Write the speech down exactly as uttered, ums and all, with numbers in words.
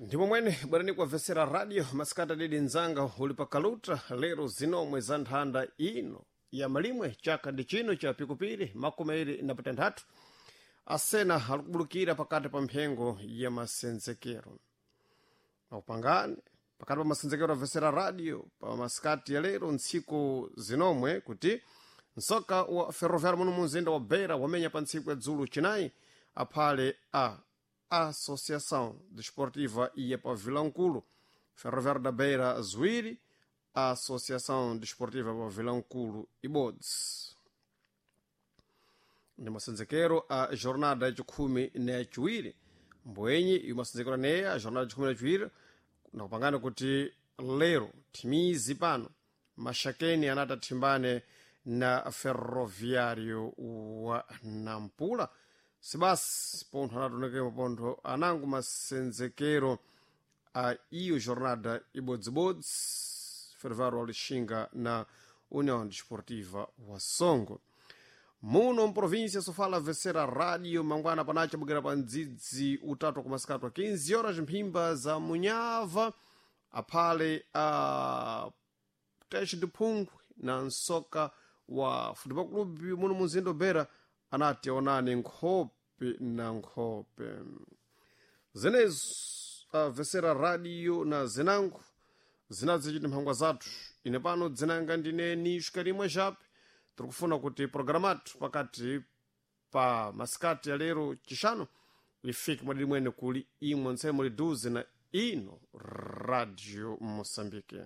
Ndipo mwene bwerani kuwabvesera radio masikati adidi mzanga uli pa kaluta lero zinomwe za nthanda ino ya malimwe chaka ndi chino cha pikupiri makumi awiri na patanthatu asena alikubulukira pakati pa mphengo ya masenzekero akupangani pakati pa masenzekero abvesera radio pa masikati ya lero ntsiku zinomwe kuti msoka wa ferroviário muno munzinda wa beira wamenya pa ntsiku ya dzulo chinayi aphale a Associação Desportiva ia pa Vilankulu Ferroviário da Beira ziwiri Associação Desportiva pa Vilankulu ibodzi ndi masenzekero a jornada yachikhumi na yachiwiri mbwenyi iyo masenzekero aneya a jornada yachikhumi na yachiwiri nakupangana kuti lero thimizi pano maxakeni anati athimbane na ferroviário wa nampula sibasi pontho anatonekemo pontho anango masenzekero a iyo jornada ibodzibodzi ferroviário wa lixinga na união desportiva wa songo muno mprovíncia sofala vesera radio mangwana panacha bukira pa mdzidzi utatu kumasikatu a quinze horas mphimba za munyava aphale a teste de phungwe na msoka wa futebol clube muno munzinda wa beira anati aonane nkhope na nkhope zenezo avesera radio na zinango zinazichiti mphangwa zathu ine pano dzinanga ndine nishka rimwe chape tiri kufuna kuti programatu pakati pa masikati ya lero chixano ifike mwadidi mwene kuli imwe ntsemo liduze na ino radio moçambique.